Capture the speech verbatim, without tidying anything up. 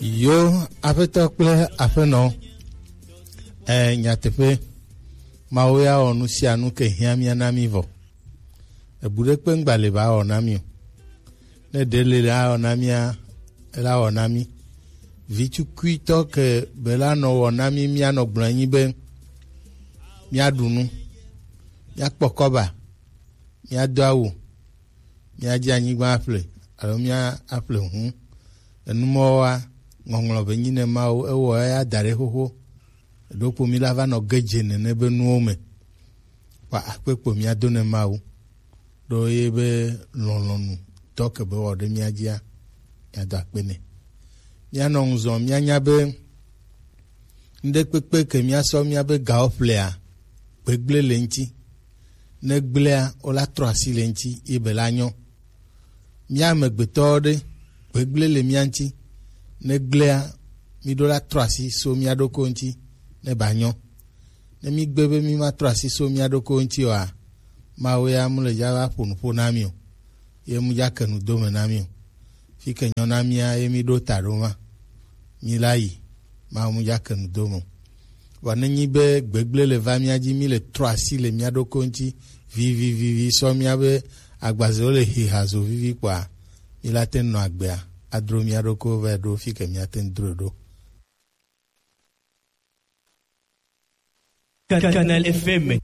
Yo, aƒetɔ kple aƒenɔ, eh, nyateƒe, Mawu ya wɔ nu sia nu ke hiã mía na mí vɔ. Ebu ɖe kpe ŋgba le va wɔ na mí o. Ne ɖe le la wɔ na mía, ela wɔ na mí. Vitukuitɔ ke be la nɔ wɔ na mí, mía nɔ gblɔ anyi be mía ɖu nu, mía kpɔ kɔba, mía do awu, mía dzi anyigba aƒle, alo mía aƒle hu. Enumɔwoa, ŋɔŋlɔ be nyi ne Mawu, ewɔ eya da ɖe xoxo. Ɖokpo mí la va nɔ ge dze nene be nuwo me. Kpa akpe kpo mía do ne Mawu. Ɖo ye be lɔlɔnu dɔ ke be wɔ ɖe mía dzia, mía do akpe nɛ. Mía nɔ ŋuzɔ, mía nya be ŋɖe kpekpe ke mía sɔ mía be gawo ƒlea, gbegble le ŋuti. Ne gblea, wola trɔ asi le ŋuti, ye be la nyɔ. Mía amegbetɔwo ɖe, gbegble le mía ŋuti. Ne gblea, mí ɖo la trɔ asi so mía ɖokui ŋuti, ne ba nyɔ. Ne mí gbe be mí ma trɔ asi so mía ɖokui ŋuti oa, Mawu ya mu le dza va ƒo nu ƒo na mí o. Ye mu dza ke nu do me na mí o. Fi ke nyɔ na mía ye mí ɖo ta ɖo ma. Mí la yi, Mawu mu dza ke nu do me o. Vɔ ne nyi be gbegble le va mía dzi, mí le trɔ asi le mía ɖokui ŋuti vivivivi sɔ mía be agbazewo le hiha zo vivi kpɔa, mí la te nɔ agbea, adro mía ɖokui va ɖo fi ke mía te ŋu dro ɖo. Canal F M.